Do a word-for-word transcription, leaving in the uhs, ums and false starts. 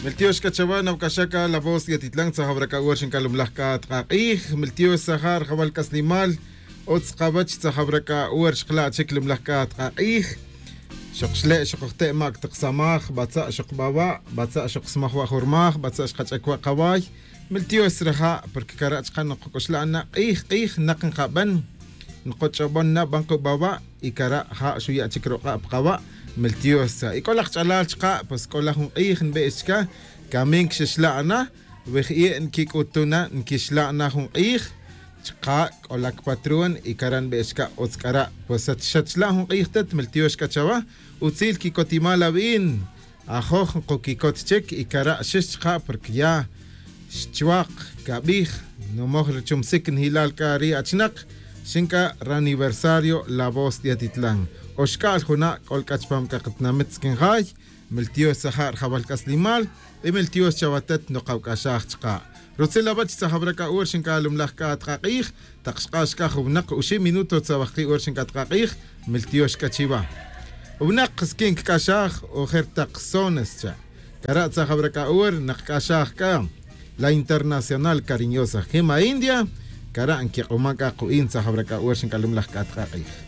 Meltiox kachawa nawkashaka La Voz de Atitlán tzajabraka uer xinkalumlajka tqaq'ij Meltiox sajar jawal kaslimal utz qawach tzajabraka uer xqla chik lumlajka tqaq'ij xoqxle' xoqojte' mak taqsamaj batza' xoqb'awa' batza' xoqsmaj wajurmaj batza' xqach'akwa qaway Meltiox raja porque karach qan qoqoxla'na q'ij q'ij naq nqab'an nqoch'ob'on na b'an qub'awa' y kara ja xuya' chik roq'a' pqawa' Meltiox y k'olaj ch'alal chqa pues k'olaj jun q'ij nb'e'x chka kamin kxixla'na wij'ie' nkik'utuna nkixla'na jun q'ij chqa k'olak patrón y kara nb'e'x chka utz k'ara' pues xachla' jun q'ij tet Meltiox k'achawa utzil kikotimal ab'in ajoj nqokikot chik y kara' xix chqa porque ya xchwaq kab'ij nomoj richumsik njilal k'a ri achnaq xinka raniversario La Voz de Atitlán oxk'al juna' k'olk'ach pam kaqatnamit skinjay Meltiox sajar jawal k'aslimal y Meltiox chawatet noqawk'axaj chqa rutzil abach tzajabraka uur xinka lumlaj ka tqaq'ij taq xq'ax ka juwnaq uxi minuto tzawajqi uur xinka tqaq'ij Meltiox k'achiwa wnaq skin kk'axaj ojer taq sones cha kara' tzajabraka uur naq k'axaj ka La Internacional Cariñosa Gema India kara' nkiq'uma k'a qu'in tzajabraka uur xinka lumlaj ka tqaq'ij.